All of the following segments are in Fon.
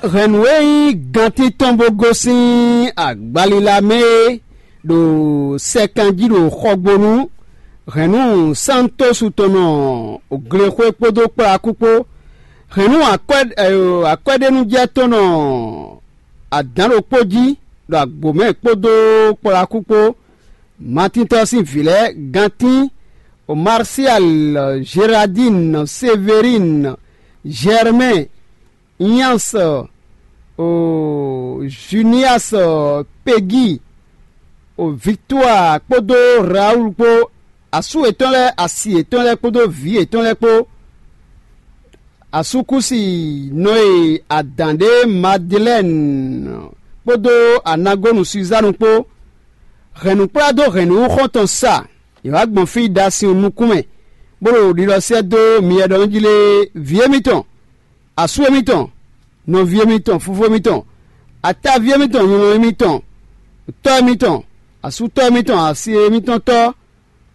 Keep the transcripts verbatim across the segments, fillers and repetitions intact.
Hɛ̌nnu e nyí gantín tɔn bó gosín agbalila mɛ é ɖo sɛkan jí ɖo xɔgbónu hɛ̌nnu Santosu tɔn nɔ glexwé kpódó kplakú kpó, hɛ̌nnu akwɛ́ɖénújɛ tɔn nɔ adǎn ɖokpó jí ɖo agbǒ mɛ kpódó kplakú kpó. Matíntɔ́ sín vǐ lɛ́ɛ: Gantín, Marsial, Jeradín, Severín, Jɛrmɛ́n, Nyans, Junias, Pegíi, Viktúa kpódó Rawúlu kpó, asú yětɔn lɛ́ɛ, asi yětɔn lɛ́ɛ kpódó vǐ yětɔn lɛ́ɛ kpó. Asúkúsi nɔ e adǎn ɖe Madilɛ́ni kpódó anagónu Suzánu kpó. Hɛ̌nnukplá dó hɛ̌nnu xɔ́ntɔn sa; yě wá gbɔn fí ɖo asin nukún mɛ, bó ɖo ɖiɖɔ sɛ́ dó myɛ ɖɔ nú jí lé: Vǐ émítɔn, asú émítɔn, nɔví émítɔn, fofó émítɔn, ataví émítɔn, nyɔ̌nu émítɔn, tɔ́ émítɔn, asútɔ́ émítɔn, asi émítɔn tɔ́,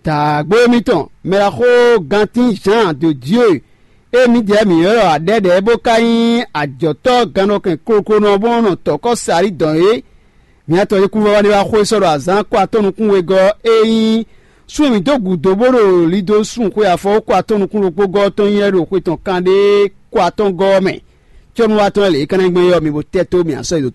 dǎgbó émítɔn, mɛɖaxó Gantín Jǎan de Dieu e mǐdɛɛ mǐ ylɔ́ aɖɛ́ɖɛ̌ bó ka nyí ajɔ̌tɔ́ gannɔkɛn kloklonɔ bó nɔ tɔ̌kɔ́ Salíi dɔn é. Mǐ atɔn e kúvɔ́vɔ́ ɖé wá xwé sɔ́ ɖo azǎn kó atɔ́ nukún wegɔ́ e nyí sun e mǐ dó gǔdo bó ɖo lido sun xwe afɔwú kó atɔ́ nukún ɖokpó gɔ́ ɔ́ tɔn nyí wɛ ɖo xwe tɔn kanɖé kó atɔ́ gɔ́ ɔ́ mɛ. Cɔ́núwatɔ́ lɛ́ɛ lě e ka ná nyí gbɔn é ɔ́, mi bo tɛ́ tó mǐ asɔ́ yi dǒtó